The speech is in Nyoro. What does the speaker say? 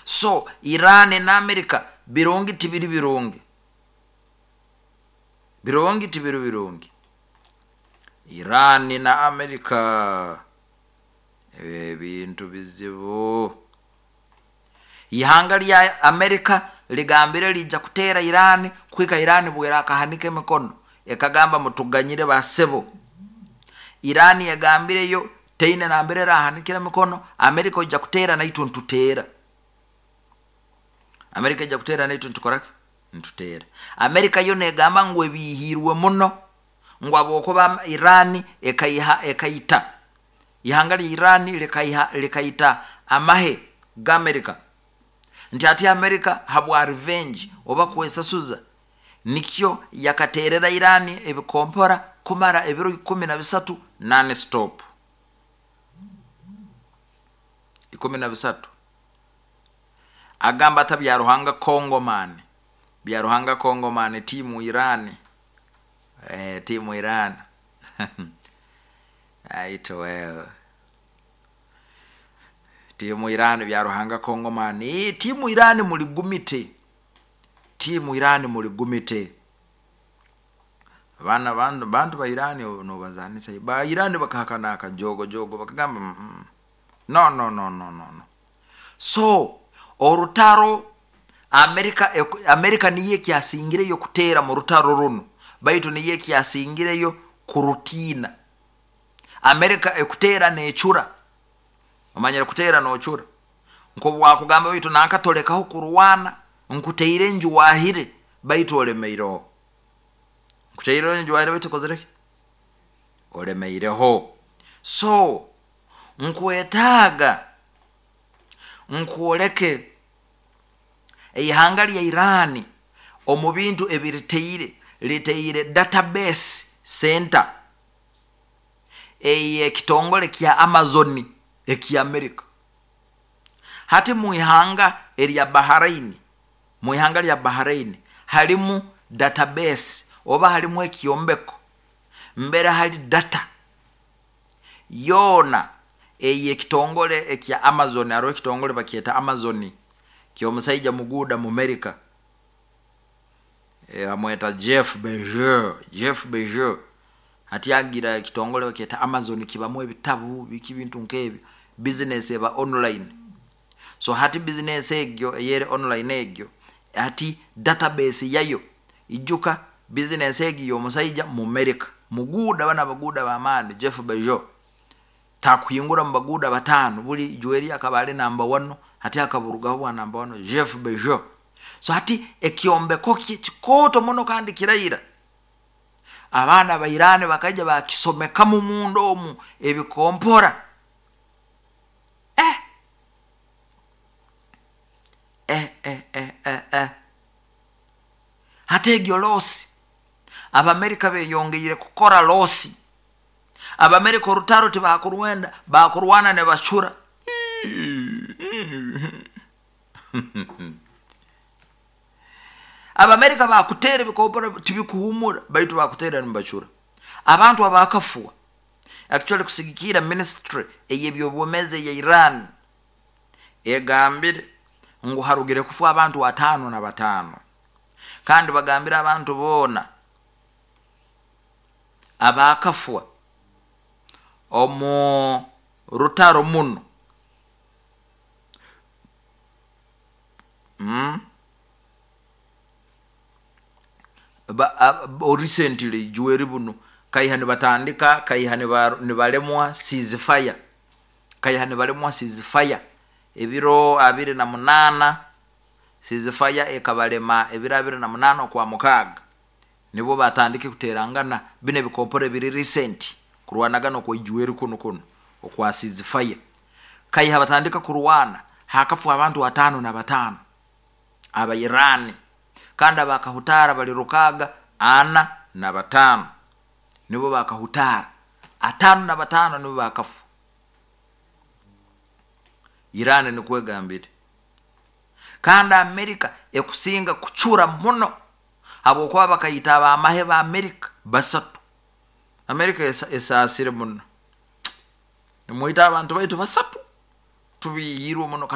So Iran na Amerika birungi tibiri birungi, birungi tibiri birungi. Iran na Amerika ebintu bizibu. Ihanga lya Amerika ligambire lijja kuteera Iran kuhika Iran bwerakahanika emikono ekagamba mutuganyire basebo. Iran egambireyo teine nambere erahanikira emikono. Amerika ojja kuteera naitwe ntuteera. Amerika ejja kuteera naitwe ntukoraki, ntuteera. Amerika yo negamba ngu ebiihirwe muno ngu habwokuba Iran ekaiha ekaita ihanga lya Iran likaita amahe g'Amerika, nti ati Amerika habwa revenge oba kwesasuza nikyo yakateerera Iran ebikompora kumara ebiro 13 non stop. 13. Agamba ata Byaruhanga Congoman, Byaruhanga Congoman timu Iran, timu Iran aito wewe timu Iran Byaruhanga Congoman, timu Iran muligumite, timu Iran muligumite. Abaana bantu ba Iran nobazanisa ba Iran bakahakana akajogojogo bakagamba no no no no no no. So orutaro Amerika niyo ekyasingireyo kuteera mu rutaro runu, baitu niyo ekyasingireyo kurutiina. Amerika ekuteera necura, omanyire kuteera nocura nkobwakugamba baitu nankatolekaho kurwana, nkuteire enju wahire baitu olemeireho, nkuteire enju wahire baitu okozereki, olemeireho. So nkwetaaga nkwoleke eihanga lya Iran omu bintu ebiriteire, riteire database center ey'ekitongole kya Amazon ekya Amerika. Hati mu ihanga erya Bahrain, mu ihanga lya Bahrain harimu database oba harimu ekyombeko mbere hari data yoona ey'ekitongole ekya Amazon. Hariho ekitongole bakyeta Amazon ky'omusaija muguuda mu Amerika, bamweta Jeff Bezos, Jeff Bezos. Hati agira ekitongole bakyeta Amazon kibamu ebitabu biki bintu nk'ebyo, business eba online. So hati business egyo eyeri online egyo hati database yayo ijuka business egi y'omusaija mu Amerika muguuda, bana abaguuda b'amaani Jeff Bezos takuhingura mu baguuda 5, buli jweri akaba ali namba 1, hati akaburugaho bwa namba 1 Jeff Bezos. So hati ekyombeko kye kikooto muno kandi kiraira. Abaana ba Iran bakaija bakisomekamu munda omu ebikompora. Hati egyo losi Abamerika beyongeire kukora losi. Abamerika orutaro tibakurwenda, bakurwana nibacura. Abamerika bakuteera ebikompora tibikuhumura, baitu bakuteera nibacura. Abantu abakafwa actually kusigikiira ministry ey'ebyobwomeezi eya Iran egambire ngu harugire kufa abantu 55, kandi bagambire abantu boona abakafwa omu rutaro muno. Recently jweri buno kaiha nibatandika kaiha nibalemwa ceasefire, kaiha nibalemwa ceasefire ebiro 28, ceasefire ekabalema ebiro 28 okwa mukaaga, nibwo batandike kuterangana bino ebikompora ebiri recent kurwanagana okwa ijweri kuno kuno okwa ceasefire. Kaiha batandika kurwana hakafa abantu 55 aba Iran, kandi abakahutara bali rukaga 45, nibo bakahutara 55 nibo bakafa. Iran nikwegambire. Kandi Amerika ekusinga kucura muno habwokuba bakayita abamahe ba Amerika 3. Amerika esaasire muno, nimwita abantu baitu 3, tubihirwe muno.